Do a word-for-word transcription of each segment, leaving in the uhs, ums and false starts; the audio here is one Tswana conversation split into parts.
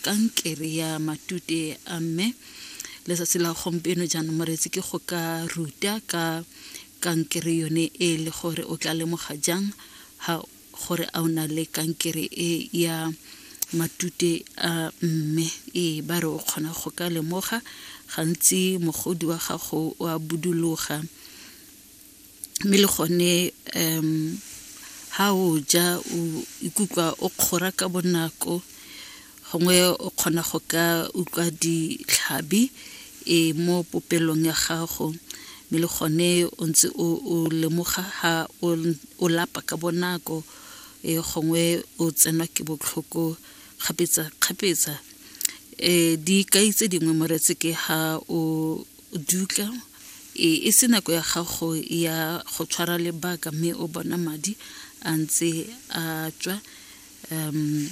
Kankere ya matute a mme. Letsatsi la gompieno jaanong, moreetsi, ke go ka ruta ka kankere yone e le gore o tla lemoga jang ha gore a o na le kankere e ya matute a mme. Ee, ba re o kgona go ka lemoga gantsi mogodi wa gago o a buduloga, mme le gone um ha o ja o ikutlwa o kgora ka bonako, gongwe o kgona go ka utlwa ditlhabi e mo popelong ya gago, mme le gone o ntse o lemoga ha o lapa ka bonako, e gongwe o tsenwa ke botlhoko kgapetsa-kgapetsa. um Dikai tse dingwe, moreetsi, ke ha o dutla e se nako ya gago ya go tshwara lebaka, mme o bona madi a ntse a tswa um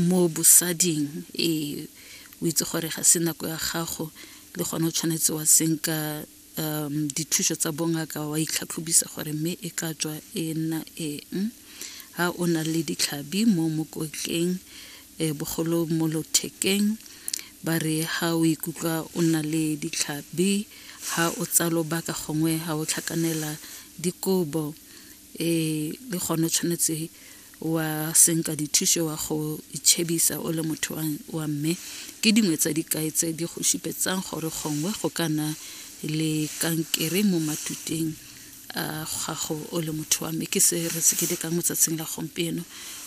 mo bosading, e o itse gore ga se nako ya gago, le gone o tshwanetse wa senka um dithuso tsa bongaka, wa itlhatlhobisa gore mme e ka tswa e nna eng. Ha o na le ditlhabi mo mokotleng, um bogolo mo lothekeng, ba re ha o ikutlwa o na le ditlhabi ha o tsaya lobaka, gongwe ha o tlhakanela dikobo, um le gone o tshwanetse wa senka dithuso, wa go itšhebisa o le motho wa mme. Ke dingwe tsa dikai tse di go supetsang gore gongwe go ka nna le kankere mo matuteng a gago o le motho wa mme. Ke se re se ketekang mo tsatsing la gompieno.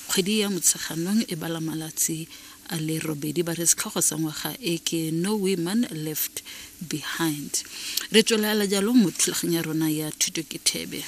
Kgwedi ya Motsheganong e bala malatsi a le robedi. Ba re setlhogo sa ngwaga e ke "No Women Left Behind". Re tswelela jalo mo thulaganyo ya rona ya Thuto ke Thebe.